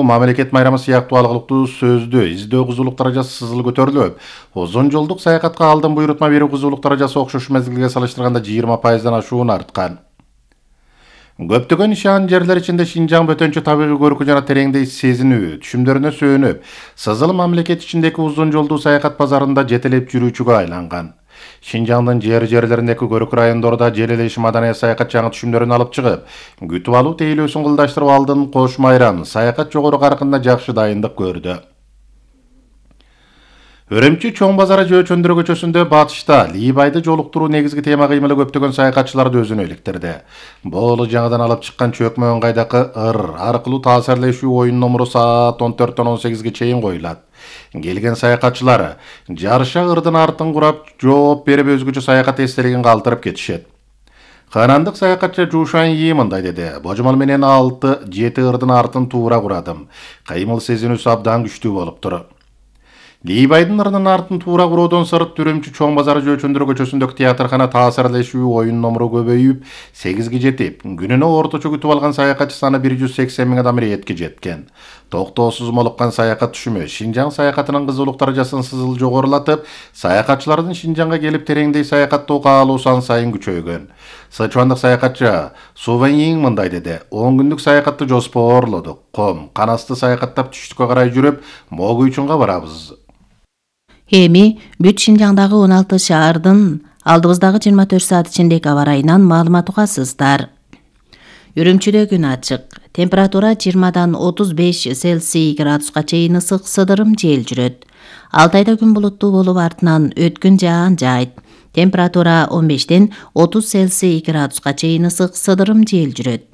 Мамлекет майрамы сыяктуу алгылыктуу сөздү издөө кызуулук даражасы сызыл көтөрүлүп, узун жолдук саякатка алдын буйрутма берүү кызуулук даражасы окшош мезгилге салыштырганда 20% ашуун арткан. Көптөгөн ишан жерлер ичинде Шинжаң бөтөнчө табигый көркү жана тереңдей сезинүү түшүмдөрүнө сүйөнүп, сызыл мамлекет ичиндеги узун жолдуу саякат базарында жетелеп жүрүүчүгө айланган. Шинжаңдын жерлериндеги көркү райондордо жел элеши маданият саякат жаңы түшүмдөрүн алып чыгып, күтүп алуу тейлөөсүн кылдаштырып алдын кош майрам саякат жогору каркында жакшы дайындык көрдү. Өрөмчү чоң базары Жөөчөндүрө көчөсүндө батышта Лийбайды жолуктуруу негизги тема кыймылы көптөгөн саякатчыларды өзүнө иликтирди. Бул жаңыдан алып чыккан чөкмө ыңгайдагы аркылуу таасирлешүү оюн номуру саат 14-18 чейин коюлат. Келген саякатчылар жарыша ырдын артын курап жооп берип өзгөчө саякат эстелигин калтырып кетишет. Канандык саякатчы Жушан Yi мындай деди: "Божомол менен 6-7 ырдын артын туура курадым. Кыймыл сезинүүсү абдан күчтүү болуптур." Лийбайдын ырдын артын туура куроодон сырт Үрөмчү чоң базары Жөөчөндүрө көчөсүндөгү театркана таасирлешүү оюн номуру көбөйүп, 8ге жетип, күнүнө орточо күтүп алган саякатчы саны 180 000 адам иретке жеткен. Токтоосуз молуккан саякат түшүмү Шинжаң саякатынын кызуулук даражасын сызыл жогорулатып, саякатчылардын Шинжаңга келип тереңдей саякаттоо каалоосу ан сайын күчөйгөн. Сычуандык саякатчы Суван Yi мындай деди: "10 күндүк саякатты жоспорлодук. Ком, канасты саякаттап түштүккө карай жүрүп, Могуйчунга барабыз." Эми бүт Шинжаңдагы 16 шаардын алдыбыздагы 24 саат ичиндеги аба ырайынан маалымат угасыздар. Үрөмчүдө күн ачык. Температура 20-дан 35 Цельсий градуска чейин ысык сыдырым жел жүрөт. Алтайда күн булуттуу болуп артынан өткүн жаан жайт. Температура 15-ден 30 Цельсий градуска чейин ысык сыдырым жел жүрөт.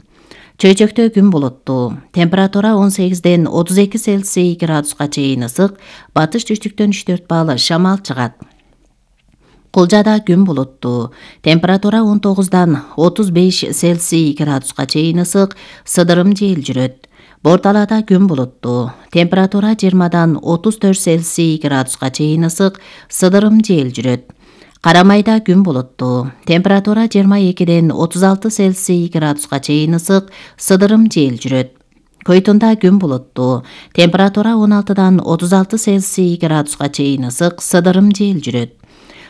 Чөйчөктө күн булуттуу. Температура 18-ден 32 Цельсий градуска чейин ысык, батыш түштүктөн 3-4 балл шамал чыгат. Кулжада күн булуттуу. Температура 19-дан 35 Цельсий градуска чейин ысык, сыдырым жел жүрөт. Борталада күн булуттуу. Температура 20-дан 34 Цельсий градуска чейин ысык, сыдырым жел жүрөт. Карамайда күн булуттуу. Температура 22-ден 36 Цельсий градуска чейин ысык, сыдырым жел жүрөт. Койтунда күн булуттуу. Температура 16-дан 36 Цельсий градуска чейин ысык, сыдырым жел жүрөт.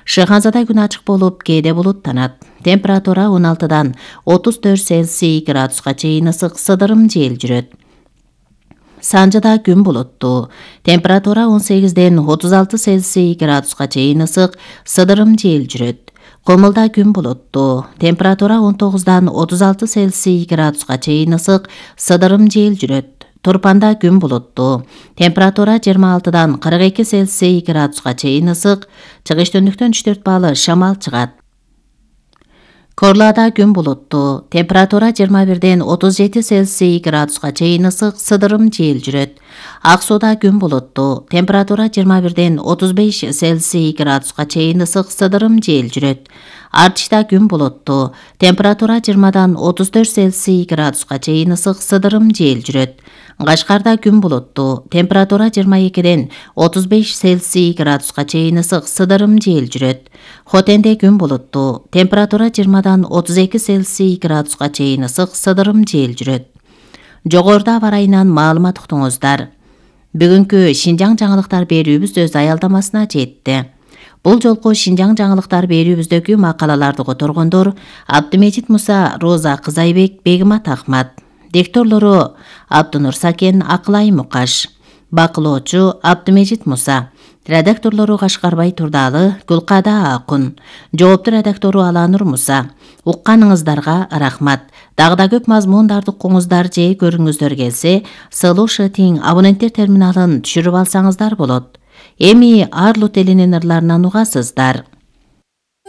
Шыханзада күн ачык болуп, кээде булуттанат. Температура 16-дан 34 Цельсий градуска чейин ысык, сыдырым жел жүрөт. Санжыда күн булуттуу. Температура 18-ден 36 Цельсий градуска чейин ысык, сыдырым жел жүрөт. Комулда күн булуттуу. Температура 19-дан 36 Цельсий градуска чейин ысык, сыдырым жел жүрөт. Турпанда күн булуттуу. Температура 26-дан 42 Цельсий градуска чейин ысык, чыгыш-төндүктөн 3-4 балл шамал чыгат. Корлада күн булуттуу. Температура 21-ден 37 Цельсий градуска чейин ысык, сыдырым жел жүрөт. Ак сууда күн булуттуу. Температура 21-ден 35 Цельсий градуска чейин ысык, сыдырым жел жүрөт. Артышта күн булуттуу. Температура 20-дан 34 Цельсий градуска чейин ысык, сыдырым жел жүрөт. Кашкарда күн булуттуу. Температура 22-ден 35 Цельсий градуска чейин ысык, сыдырым жел жүрөт. Хотенде күн булуттуу. Температура 20-дан 32 Цельсий градуска чейин ысык, сыдырым жел жүрөт. Жогоруда аба ырайынан маалымат уктуңуздар. Бүгүнкү Шинжаң жаңылыктар берүүбүз өз аялдамасына жетти. Бул жолку Шинжаң жаңылыктар берүүбүздөгү макалаларды которгондор Абдымежит Муса, Роза Кызайбек, Бегимат Ахмат. Дикторлору Абдунур Сакен, Акылай Мукаш. Бакылоочу Абдымежит Муса. Редакторлору Кашкарбай Турдалы, Гүлкада Акун. Жоопту редактору Аланур Муса. Укканыңыздарга рахмат. Дагы көп мазмундарды укуңуздар же көрүңүздөр келсе, Сылушы Тиң абоненттер терминалын түшүрүп алсаңыздар болот. Эми Арлут элинин ырларынан угасыздар.